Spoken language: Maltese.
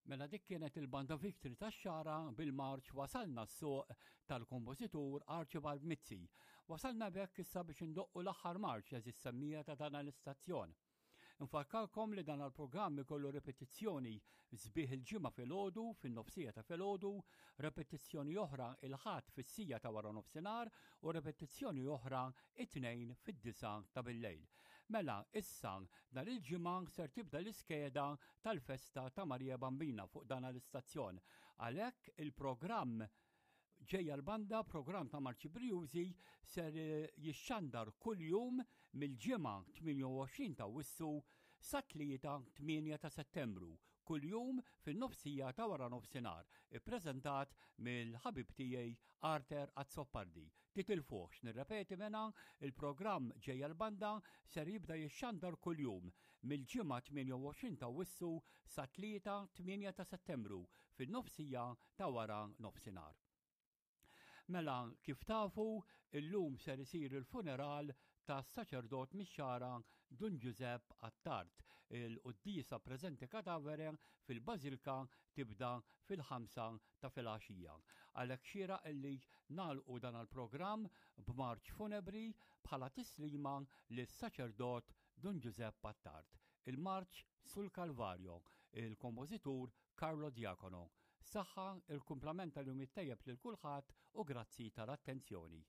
Mela dik kienet il-banda Victory tax-Xagħra bil-marċ Wasalna s-Suq tal-kompożitur Archibald Mizzi. Wasalna b'hekk issa biex indoqqu l-aħħar marċ għeżież semmija ta' dan l-istazzjon. Nfakkarkom li dan l-programm ikollu repetizzjoni sbieħ il-ġimgħa filgħodu fin-nofsija ta' filgħodu, repetizzjoni oħra il-Ħadd fis-sija ta' wara nofsinhar u repetizzjoni oħra it-Tnejn fid-disgħa ta' billejl. Mela, issa nhar il-Ġimgħa ser tibda l-iskeda tal-festa ta' Marija Bambina fuq dan l-istazzjon. Għalhekk il-programm Ġejja l-Banda, programm ta' Marċi Brijużi, ser jixxandar kuljum mill-Ġimgħa 28 ta' Awwissu sat-Tlieta 8 ta' Settembru, kuljum fin-nofsija ta' wara nofsinhar, ippreżentat mill-ħabib tiegħi Arthur Azzopardi. Titilfuhx, nirrepeti mela, il-programm Ġejja l-Banda ser jibda jixxandar kuljum mill-Ġimgħa 28 ta' Awwissu sat-Tlieta 8 ta' Settembru fin-nofsija ta' wara nofsinhar. Mela, kif tafu, illum ser isir il-funeral tas-saċerdot mix-Xagħra Dun Ġużepp Attard. Il-quddiesa preżenti cadavere fil-Bażilka tibda fil-ħamsa ta' filgħaxija. Għalhekk xieraq illi nagħlqu dan l-programm b'marċ funebri bħala tislima lis-saċerdot Dun Ġużepp Attard. Il-marċ Sul Calvario, il-kompożitur Carlo Diacono. Saħħa, il-kumplament tal-jum it-tajjeb lil kulħadd u grazzi tal-attenzjoni.